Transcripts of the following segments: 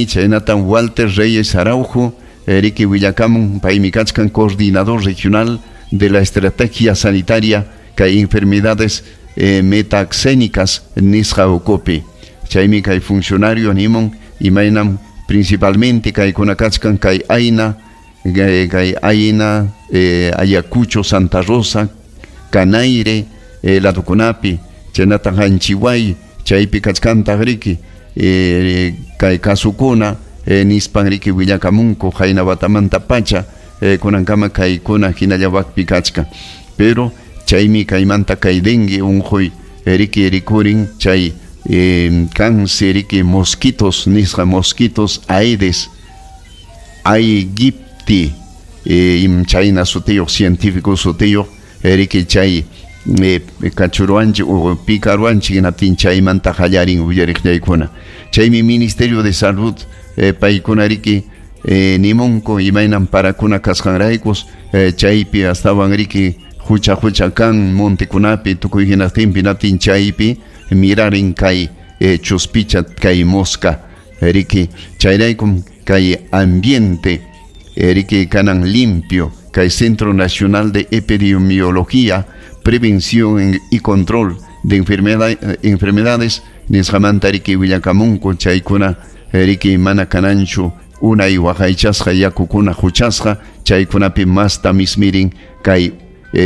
Chaynatam Walter Reyes Araujo, riki willakamun, paymi kachkan coordinador regional de la estrategia sanitaria kay enfermedades metaxénicas nisqa ukupi. Chaymi kay funcionario nimun imaynam principalmente kaykuna kachkan kay Aina, kay Aina, Ayacucho, Santa Rosa, Canaire, ladukunapi, chaynataq Anchihuay, chaypi kachkantaq riki kay kasukuna, nispan riki willakamunku qayna watamanta pacha, kunankama kaykuna hinalla wakpi kachkan. Pero chaymi kaymanta kay dengue unquy riki rikurin chay cáncer riki mosquitos nisqa mosquitos Aedes aegypti, chayna sutiyuq científico sutiyuq riki chay kachuruanchik o picaruanchik hinaptin chaymanta qallarin uyariqllaykuna. Chaymi Ministerio de Salud paykuna riki nimunku imaynam parakuna kasqanraykus, chaypi astawan riki hucha hucha kan montekunapi tukuy hinastinpi hinaptin chaypi mirarin kay chuspicha kay mosca riki chayraykum kay ambiente riki kanan limpio kay Centro Nacional de Epidemiología, Prevención y Control de Enfermedades nisqamanta riki willakamunku chaykuna riki mana kananchu unay waqaychasqa yakukuna huchasqa chaykunapi masta mismirin kay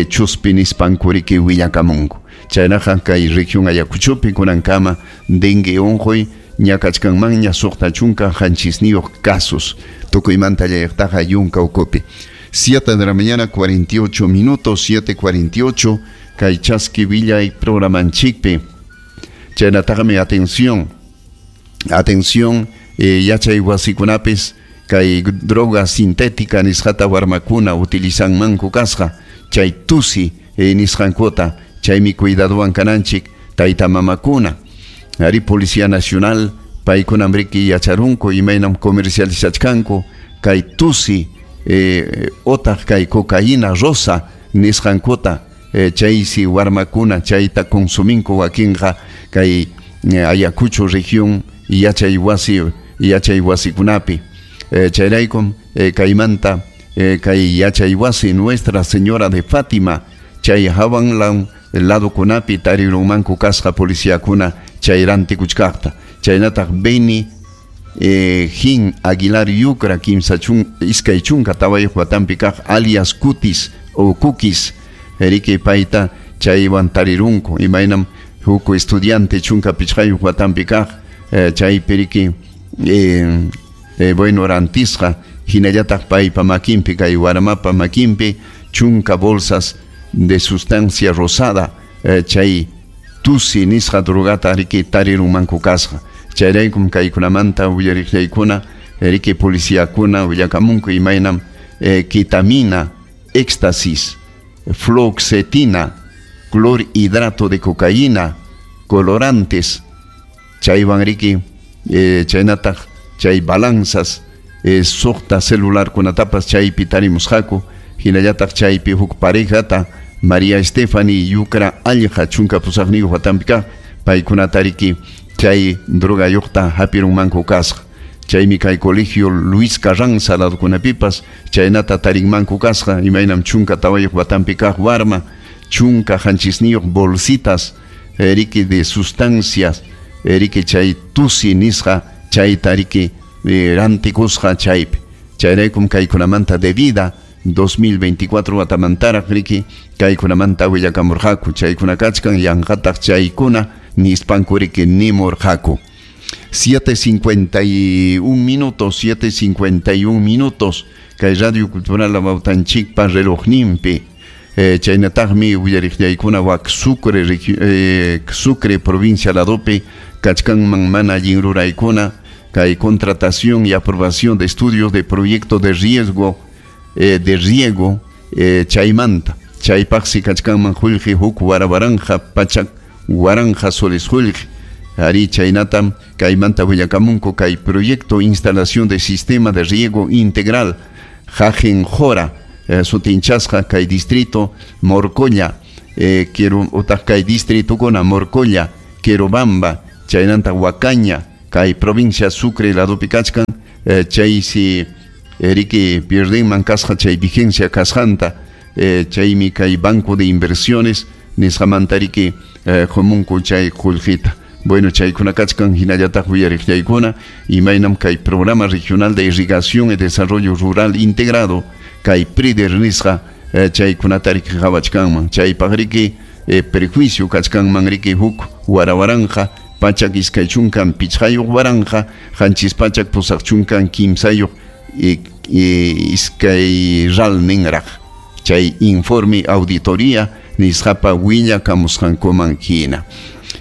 chuspi nispanku riki willakamunku. Chaynaqa kay región Ayacuchopi kunankama dengue unquy ñakachkanmanña 67 casos tukuymanta llayaqtaqa yunka ukupi. 7 de la mañana 48 minutos, 7:48, kay chaski villay programanchikpi. Chaynataqmi atención, atención, yachay wasikunapis kay droga sintética nisqata warmakuna utilizanmanku kasqa chay tusi nisqankuta, chaymi cuidadowan kananchik tayta mamakuna. Ari Policía Nacional paykunam riki yacharunku imaynam comercializachkanku kay tusi otaq kay cocaína rosa nisqankuta, chaysi warmakuna chayta consuminku wakinqa kay Ayacucho región yachay wasi yachay wasikunapi. Chayraykum kaymanta kay yachay wasi Nuestra Señora de Fátima chay hawan ladukunapi tarirunmanku kasqa policiakuna chay rantikuchkaqta. Chaynataq Beni Jin Aguilar Yucra kimsa iskay chunka tawayuq watampi kaq alias Cutis o Cookies riki payta chaywan tarirunku imaynam huk estudiante chunka pichqayuq watampi kaq chaypi riki bueno rantisqa hinallataq paypa makinpi kay warmapa makinpi chunka bolsas de sustancia rosada chay tusi nisqa drogata riki tarirunmanku kasqa. Chayraykum kaykunamanta willariqllaykuna riki policiakuna willakamunku imaynam ketamina, éxtasis, fluoxetina, clorhidrato de cocaína, colorantes, chaywan riki chaynataq chay balanzas, suqta celularkunatapas chaypi tarimusqaku, hinallataq chaypi huk parejata María Estefani Yucra Allqa chunka pusaqniyuq watampi kaq paykunata riki chay drogayuqta hapirunmanku kasqa. Chaymi kay colegio Luis Carranza ladukunapipas chaynata tarinmanku kasqa imaynam chunka tawayuq watampi kaq warma chunka hanchisniyuq bolsitas riki de sustancias riki chay tusi nisqa chayta riki rantikusqa chaypi. Chayraykum kaykunamanta de vida 2024 watamantaraq riki kaykunamanta willakamurqaku chaykuna kachkan yanqataq chaykuna nispanku riki nimurqaku. 7:51 minutos, 7:51 minutos kay Radio Cultural Amautanchikpa relojninpi. Chaynataqmi willariqllaykuna wak Sucre, Sucre provincia ladopi kachkanman mana allin ruraykuna kay contratación y aprobación de estudios de proyecto de riesgo de riego chaymanta chaypaqsi kachkanman qullqi huk warawaranja pachak waranja soles qullqi. Ari chaynatam kaymanta willakamunku kay proyecto instalación de sistema de riego integral Jajenjora sutinchasqa kay distrito Morcolla, quiero otaq kay distritukuna Morcolla, Querobamba, chaynanta Huacaña, kay provincia Sucre ladopi kachkan, chaysi riki pierdenman kasqa chay vigencia kasqanta, chaymi kay Banco de Inversiones nisqamanta riki qomunku chay qullqita. Bueno, chaykuna kachkan hinallataq uyariqllaykuna imaynam kay Programa Regional de Irrigación y Desarrollo Rural Integrado kay PRIDER nisqa chaykunata riki qhawachkanman. Chaypaq riki perjuicio kachkanman riki huk warawaranqa pachak iskay chunkan pichqayuq waranqa qanchis pachak pusaq chunkan kimsayuq iskay ral ninraq. Chay informe auditoría nisqapa willakamusqankuman hina.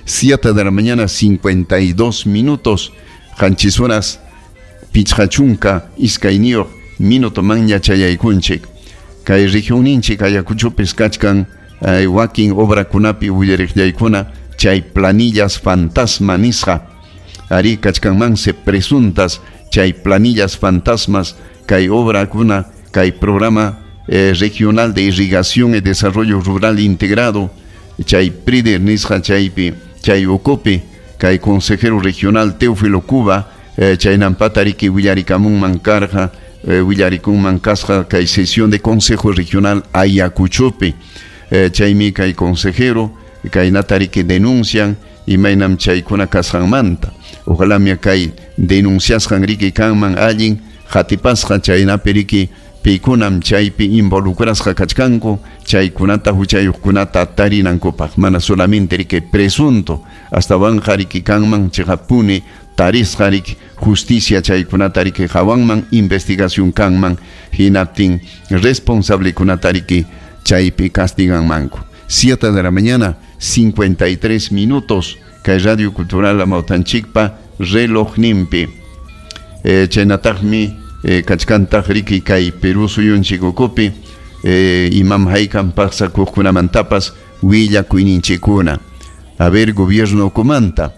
7 de la mañana, 52 minutos, qanchis horas pichqa chunka iskayniyuq minuto manña chayaykunchik. Kay regionninchik Ayacuchopis kachkan wakin obrakunapi willariqllaykuna chay planillas fantasma nisqa. Ari kachkanmanse presuntas chay planillas fantasmas kay obrakuna kay programa regional de irrigación y desarrollo rural integrado chay PRIDER nisqa chaypi chay ukupi kay consejero regional Teófilo Cuba chaynampata riki willarikamunman karqa willarikunman kasqa kay sesión de consejo regional Ayacuchopi, chaymi kay consejero kaynata riki denuncian imaynam chaykuna kasqanmanta. Ojalá mi kay denunciasqan riki kanman allin qatipasqa chaynapi riki pikunam chaypi involucrasqa kachkanku chaykunata huchayuqkunata tarinankupaq, mana solamente riki presunto astawanqa riki kanman chiqapuni tarisqa riki justicia chaykunata riki hawanman investigación kanman hinaptin responsablekunata riki chaypi castiganmanku. 7 de la mañana, 53 minutos, kay Radio Cultural Amautanchikpa reloj nimpi. Chaynataqmi kachkantaq riki kay Perú suyunchik ukupi imam haykan pasakuqkunamantapas willakuyninchikkuna. A ver, gobierno ukumanta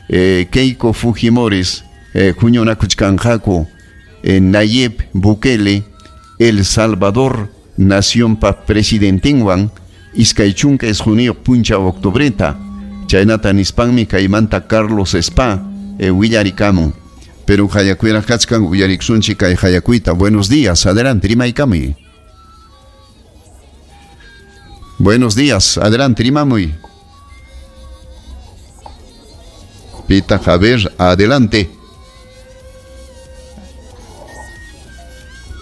Keiko Fujimoris huñunakuchkanqaku Nayib Bukele El Salvador nacionpa presidentinwan iskay chunka isquniyuq punchaw octubreta. Chaynata nispanmi kaymanta Carlos Spa willarikamun. Pero hayakuyraq kachkan uyariksunchik kay hayakuyta. Buenos días, adelante, rimaykamuy. Buenos días, adelante, rimamuy. Pita Javier, adelante.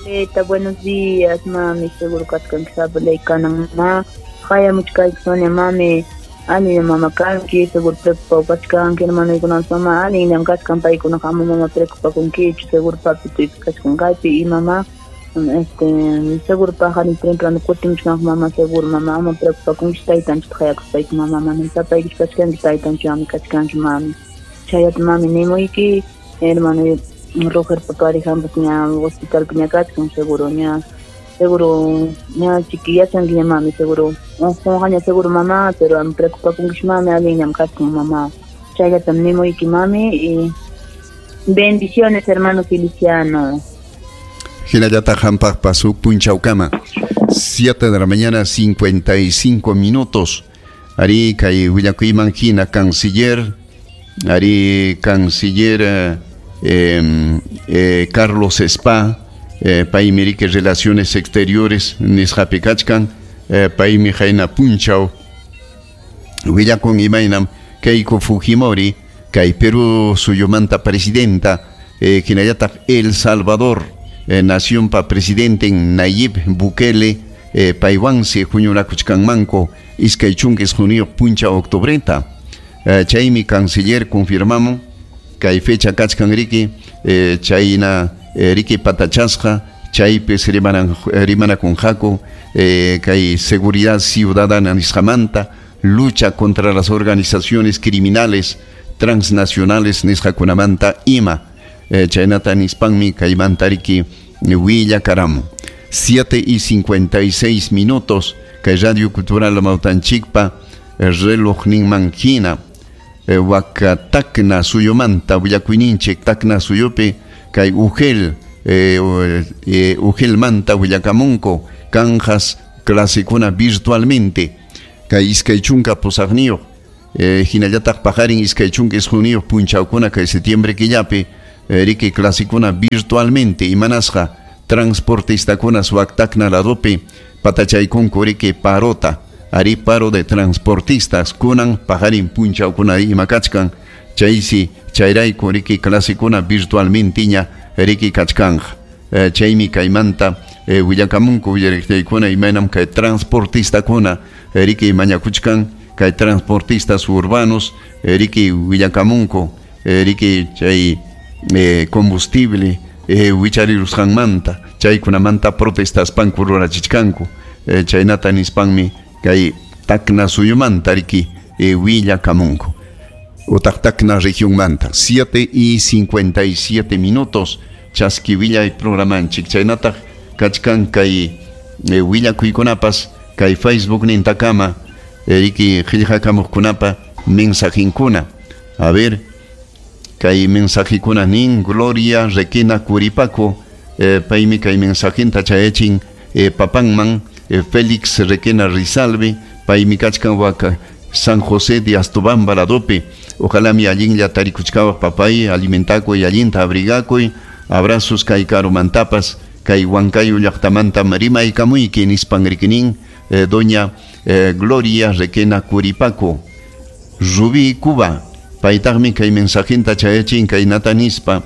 Leta, buenos días, mami, seguro kachkan sabalay kanang ma. Hayamuchkayki Sonia, mami. Allinam mama kanki, seguro preocupado kachkanki, hermanoykunapas mama, allinam kachkan paykunaqa ama mama preocupakunkichu, seguro papituypi kachkan kaypi y mama, seguro paqarin temprano kutimuchkanku mama, seguro mama, ama preocupakunkichu taytanchikta hayakuspayki mama, manam sapaykichu kachkanki, taytanchikwanmi kachkanki mami. Chayata mami nimuyki, hermano Rogerpa parejanpas ña hospitalpi ña kachkan, seguro ña. Seguro ña chiki yachankiña mami, seguro unqunqaña seguro mamá, pero am preocupakunkichu mami, allinñam kachkan mamá. Chayllatam nimuyki mami y bendiciones hermano Feliciano. Hinallataq hampaqpas huk punchawkama. 7 de la mañana, 55 minutos. Ari kay willakuyman hina canciller, ari canciller Carlos Spa, paymi riki relaciones exteriores nisqapi kachkan, paymi hayna punchaw willakun imaynam Keiko Fujimori kay Perú suyumanta presidenta, hinallataq El Salvador nacionpa presidente Nayib Bukele, paywansi huñunakuchkanmanku iskay chunka isquniyuq punchaw octubreta. Chaymi canciller confirmamun kay fecha kachkan riki, chayna riki patachasqa chaypis rimanakunqaku kay seguridad ciudadana nisqamanta, lucha contra las organizaciones criminales transnacionales nisqakunamanta ima. Chaynata nispanmi kaymanta riki willakaramun. 7:56 minutos kay Radio Cultural Amautanchikpa relojninman hina. Waka Tacna suyumanta willakuyninchik Tacna suyupi kay Ugel Ugelmanta willakamunku kanjas clasekuna virtualmente kay iskay chunka pusaqniyuq Hinallataq paqarin 29 punchawkuna kay septiembre killapi riki clasekuna virtualmente imanasqa transportistakuna wak Tacna ladopi patachaykunku riki parota ari paro de transportistas kunan paqarin punchawkuna ima kachkan chaysi chayrayku riki clasekuna virtualmente ña riki kachkanja chaymi kaymanta willakamunku willariqtaykuna imaynam kay transportistakuna riki mañakuchkan kay transportistas urbanos riki willakamunku riki chay combustible wicharirusqanmanta chaykunamanta protestaspanku rurachichkanku chaynata nispanmi kay Tacna suyumanta riki willakamunku utaq Tacna regionmanta. 7:57 chaski willay programanchik chaynataq kachkan kay willakuykunapas kay Facebook nintakama riki qillqakamuqkunapa mensajinkuna. A ver, kay mensajikuna nin Gloria Requena Curipaco paymi kay mensajinta chayachin papanman Félix Requena Rizalve paymi kachkan waka San José de Astobamba ladopi. Ojalá mi allinlla tarikuchkawaq papay alimentakuy allinta abrigakuy abrazos kay karumantapas kay Huancayo llaqtamanta rimaykamuyki nispan rikinin doña Gloria Requena Curipaco. Rubí Cuba paytaqmi kay mensajinta chayachin kaynata nispa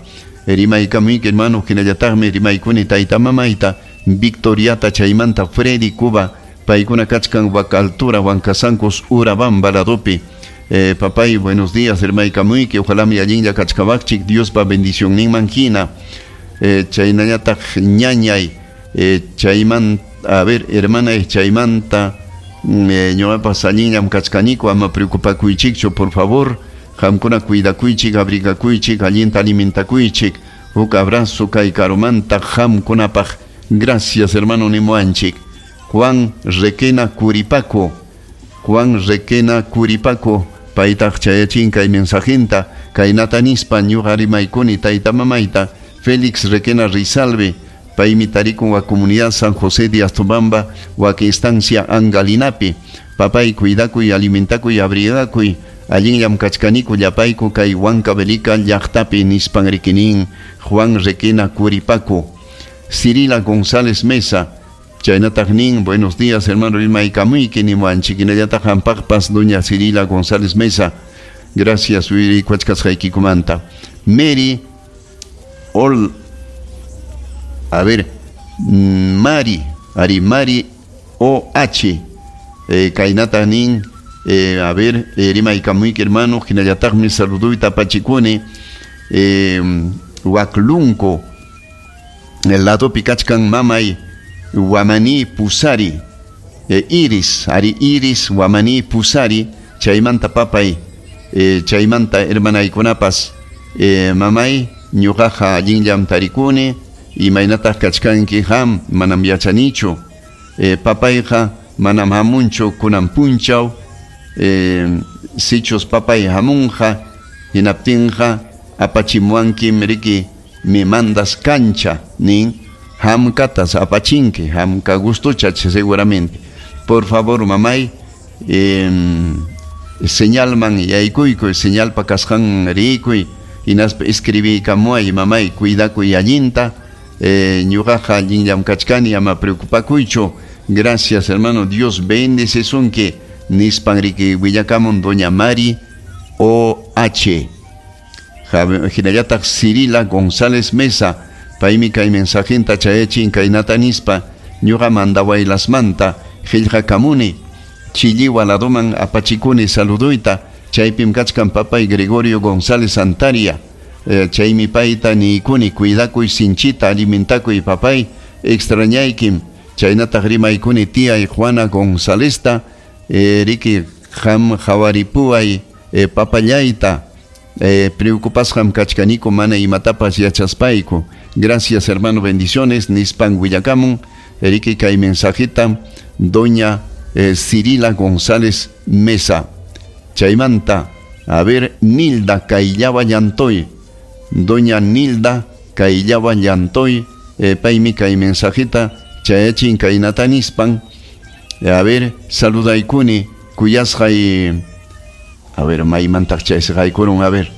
rimaykamuyki hermano hinallataqmi rimaykuni tayta mamayta Victoriata chaymanta Freddy Cuba paykuna kachkan wak altura Huancasancos Urabamba ladopi. Papay, buenos días rimaykamuyki ojalá mi allinlla kachkawaqchik Diospa bendicionninman hina chaynallataq ñañay chayman a ver hermana chaymanta ñuqapas allinllam kachkaniku ama preocupakuychikchu por favor qamkuna cuidakuychik abrigakuychik allinta alimentakuychik huk abrazo kay karumanta qamkunapaq. Gracias hermano nimuanchik. Juan Requena Curipaco, Juan Requena Curipaco paytaq chayachin kay mensajinta kaynata nispa ñuqa rimaykuni tayta mamayta Félix Requena Rizalve paymi tarikun wa comunidad San José de Astobamba wak estancia Angalinapi. Papay cuidakuy alimentakuy abrigakuy allinllam kachkaniku llapayku kay Huancavelica llaqtapi nispan rikinin Juan Requena Curipaco. Cirila González Mesa chaynataq nin buenos días hermano rimaykamuyki nimuanchik hinallataq hampaqpas doña Cirila González Mesa gracias wirikuachkasqaykikumanta. Mary Ol, a ver, Mari, Ari Mari OH, kaynata nin, a ver, rimaykamuyki hermano hinallataqmi saluduyta apachikuni Huaclunco el ladopi kachkan mamay Guamaní Pusari, Iris, Ari Iris Guamaní Pusari, chaymanta papay, chaymanta hermanaykunapas, mamay ñuqaqa allinllam tarikuni imaynataq kachkanki ham manam yachanichu papayqa manam hamunchu kunan punchaw sichus papay hamunqa hinaptinqa apachimuankim riki me mandas cancha nin hamkatas apachinki hamka gustucha seguramente. Por favor mamay señalman yaykuykuy señalpa kasqan rikuy hinaspa escribiykamuay mamay cuidakuy allinta ñuqaqa allinllam kachkani ama preocupakuychu. Gracias hermano, Dios bendice sunki nispan riki willakamun doña Mari OH. Hinallataq Cirila González Mesa paymi kay mensajinta chayachin kaynata nispa ñuqa mandawaylasmanta qillqakamuni Chilliwa ladoman apachikuni saluduyta chaypim kachkan papay Gregorio González Antaria chaymi payta niykuni cuidakuy sinchita alimentakuy papay extrañaykim chaynataq rimaykuni tiyay Juana Gonzálezta riki ham hawaripuay papallayta preocupasqam kachkaniku mana imatapas yachaspayku. Gracias hermano, bendiciones nispan willakamun riki kay mensajita doña Cirila González Mesa. Chaymanta, a ver, Nilda Kayllaba Llantoy, doña Nilda Kayllaba Llantoy, paymi kay mensajita chayachin kaynata nispan. A ver, saludaykuni kuyasqay A ver, maymantaq chaysqaykurun, a ver.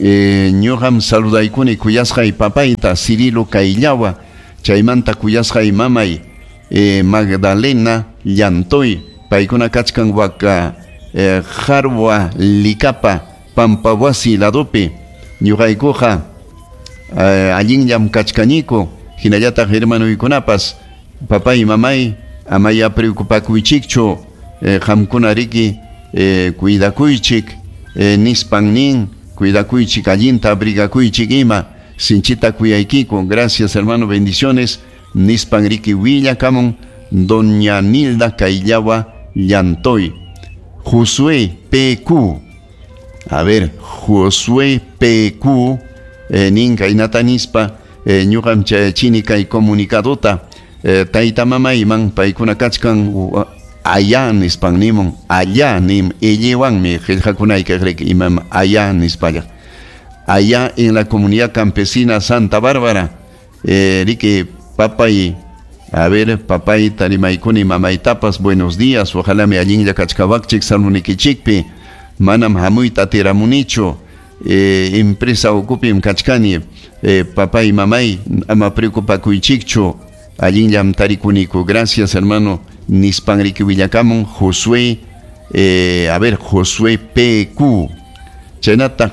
Ñuqam saludaykuni kuyasqay papayta Cirilo Kayllawa, chaymanta kuyasqay mamay Magdalena Llantoy, paykuna kachkan waka Jarwa Likapa Pampawasi ladopi. Ñuqaykuqa allinllam kachkaniku, hinallataq hermanuykunapas, papay mamay amaya preocupakuychikchu, qamkuna riki cuidakuychik, nispan nin, cuidakuychik allinta abrigakuychik ima, sinchita kuyaykiku. Gracias hermano, bendiciones, nispan riki willakamun doña Nilda Kayllawa Llantoy. Josué PQ, a ver, Josué PQ, nin kaynata nispa, ñuqam chayachini kay comunicadota, tayta mamayman, paykuna kachkan allá nispan nimun, allá nim, illiwanmi qillqakunayka riki imam allá nispalla, allá en la comunidad campesina Santa Bárbara, riki papay, a ver, papay tarimaykuni mamaytapas, buenos días, ojalá me allinlla kachkawakchik salmunikichikpi, manam hamuyta atiramunichu, empresa ukupim kachkani, papay mamay ama preocupakuychikchu, allinllam tarikuniku. Gracias hermano, nispan riki willakamun Josué, a ver, Josué PQ. Chaynataq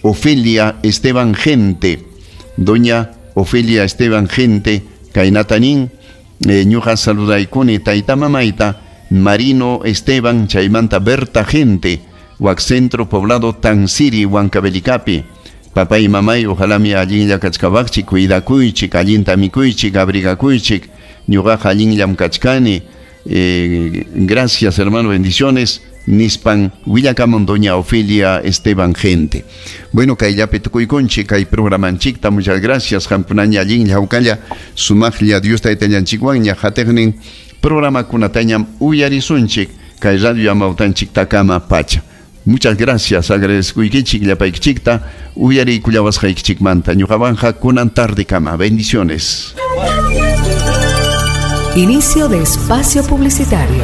Ofelia Esteban Gente, doña Ofelia Esteban Gente, kaynata nin, ñuqa saludaykuni tayta mamayta Marino Esteban, chaymanta Berta Gente, wak centro poblado Tansiri, Huancavelicapi. Papá y mamay, ojalá mi allinlla kachkawakchik, cuidakuychik, allinta mikuychik, abrigakuychik, ñuqaqa allinllam kachkani. Gracias hermano, bendiciones, nispan willakamun doña Ofelia Esteban Gente. Bueno, kayllapi tukuykunchik kay programanchikta, muchas gracias, qamkunaña allinlla hawkalla sumaqlla Dios taytallanchikwanña hatiqnin programakunatañam uyarisunchik kay radio amawtanchiktakama pacha. Muchas gracias, agradezcuykichik llapaykichikta uyariykullawasqaykichikmanta. Ñuqawanja kunan tardekama. Bendiciones. Inicio de espacio publicitario.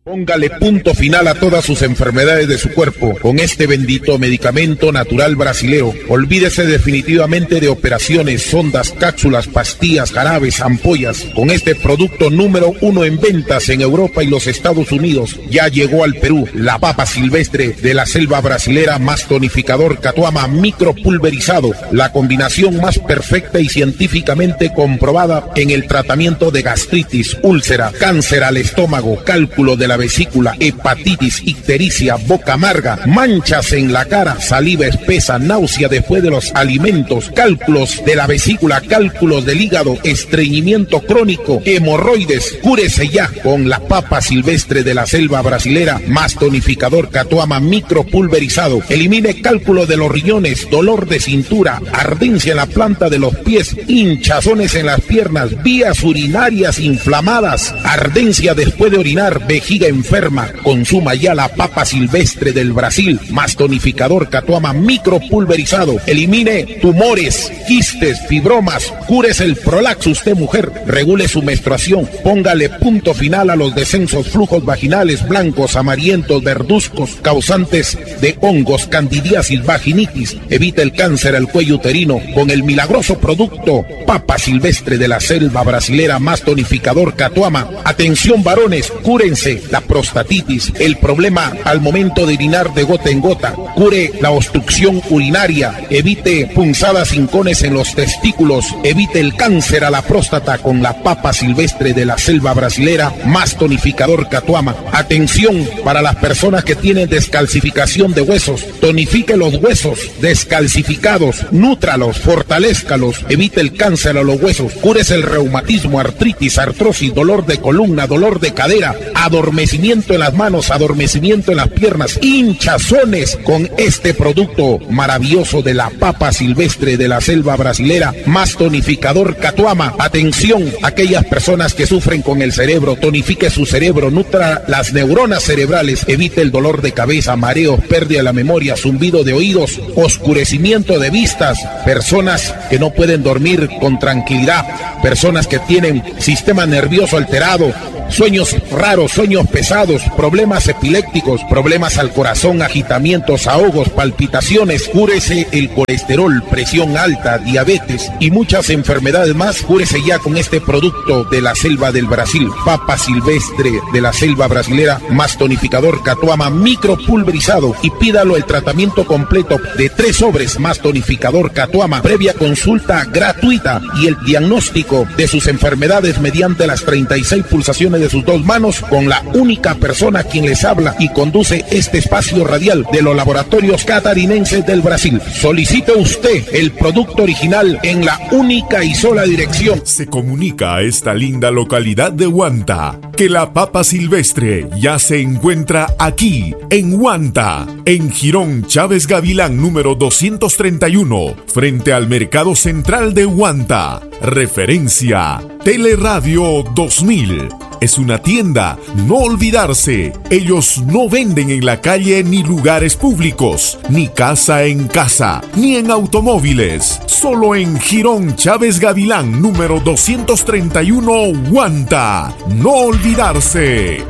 Póngale punto final a todas sus enfermedades de su cuerpo con este bendito medicamento natural brasilero. Olvídese definitivamente de operaciones, sondas, cápsulas, pastillas, jarabes, ampollas. Con este producto número 1 en ventas en Europa y los Estados Unidos, ya llegó al Perú la papa silvestre de la selva brasilera más tonificador Catuama micropulverizado, la combinación más perfecta y científicamente comprobada en el tratamiento de gastritis, úlcera, cáncer al estómago, cálculo de la vesícula, hepatitis, ictericia, boca amarga, manchas en la cara, saliva espesa, náusea después de los alimentos, cálculos de la vesícula, cálculos del hígado, estreñimiento crónico, hemorroides. Cúrese ya con la papa silvestre de la selva brasilera más tonificador Catuama micropulverizado. Elimine cálculo de los riñones, dolor de cintura, ardencia en la planta de los pies, hinchazones en las piernas, vías urinarias inflamadas, ardencia después de orinar, vejiga enferma. Consuma ya la papa silvestre del Brasil más tonificador Catuama micropulverizado. Elimine tumores, quistes, fibromas, cúrese el prolaxo usted mujer, regule su menstruación, póngale punto final a los descensos, flujos vaginales blancos, amarillentos, verduzcos, causantes de hongos, candidiasis, vaginitis. Evite el cáncer al cuello uterino con el milagroso producto papa silvestre de la selva brasilera más tonificador Catuama. Atención varones, cúrense la prostatitis, el problema al momento de orinar de gota en gota, cure la obstrucción urinaria, evite punzadas hincones en los testículos, evite el cáncer a la próstata con la papa silvestre de la selva brasilera más tonificador Catuama. Atención para las personas que tienen descalcificación de huesos, tonifique los huesos descalcificados, nútralos, fortalézcalos, evite el cáncer a los huesos, cúrese el reumatismo, artritis, artrosis, dolor de columna, dolor de cadera, adormecimiento en las manos, adormecimiento en las piernas, hinchazones con este producto maravilloso de la papa silvestre de la selva brasilera más tonificador Catuama. Atención, aquellas personas que sufren con el cerebro, tonifique su cerebro, nutra las neuronas cerebrales, evite el dolor de cabeza, mareos, pérdida de la memoria, zumbido de oídos, oscurecimiento de vistas, personas que no pueden dormir con tranquilidad, personas que tienen sistema nervioso alterado, sueños raros, sueños pesados, problemas epilépticos, problemas al corazón, agitamientos, ahogos, palpitaciones. Cúrese el colesterol, presión alta, diabetes y muchas enfermedades más. Cúrese ya con este producto de la selva del Brasil, papa silvestre de la selva brasilera, más tonificador Catuama micropulverizado, y pídalo el tratamiento completo de 3 sobres más tonificador Catuama, previa consulta gratuita y el diagnóstico de sus enfermedades mediante las 36 pulsaciones de sus 2 manos, con la única persona quien les habla y conduce este espacio radial de los laboratorios catarinenses del Brasil. Solicite usted el producto original en la única y sola dirección. Se comunica a esta linda localidad de Huanta que la papa silvestre ya se encuentra aquí, en Huanta, en Jirón Chávez Gavilán número 231, frente al Mercado Central de Huanta. Referencia Teleradio 2000. Es una tienda, no olvidarse. Ellos no venden en la calle ni lugares públicos, ni casa en casa, ni en automóviles. Solo en Jirón Chávez Gavilán, número 231, Huanta. No olvidarse.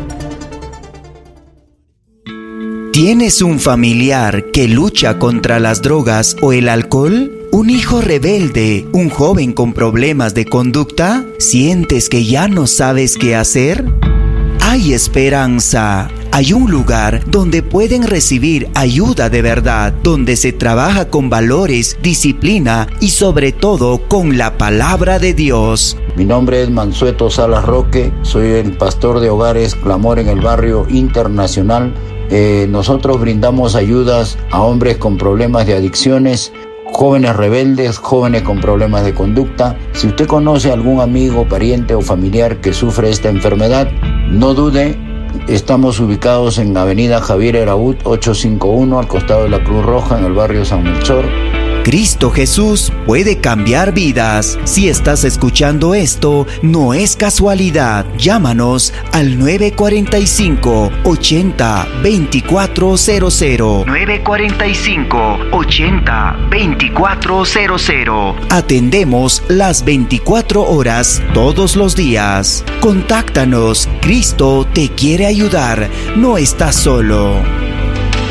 ¿Tienes un familiar que lucha contra las drogas o el alcohol? ¿Un hijo rebelde? ¿Un joven con problemas de conducta? ¿Sientes que ya no sabes qué hacer? Hay esperanza. Hay un lugar donde pueden recibir ayuda de verdad, donde se trabaja con valores, disciplina y sobre todo con la palabra de Dios. Mi nombre es Mansueto Salas Roque, soy el pastor de Hogares Clamor en el Barrio Internacional. Nosotros brindamos ayudas a hombres con problemas de adicciones, jóvenes rebeldes, jóvenes con problemas de conducta. Si usted conoce a algún amigo, pariente o familiar que sufre esta enfermedad, no dude. Estamos ubicados en Avenida Javier Eraúd, 851, al costado de la Cruz Roja, en el barrio San Melchor. Cristo Jesús puede cambiar vidas. Si estás escuchando esto, no es casualidad. Llámanos al 945-80-2400. 945-80-2400. Atendemos las 24 horas todos los días. Contáctanos. Cristo te quiere ayudar. No estás solo.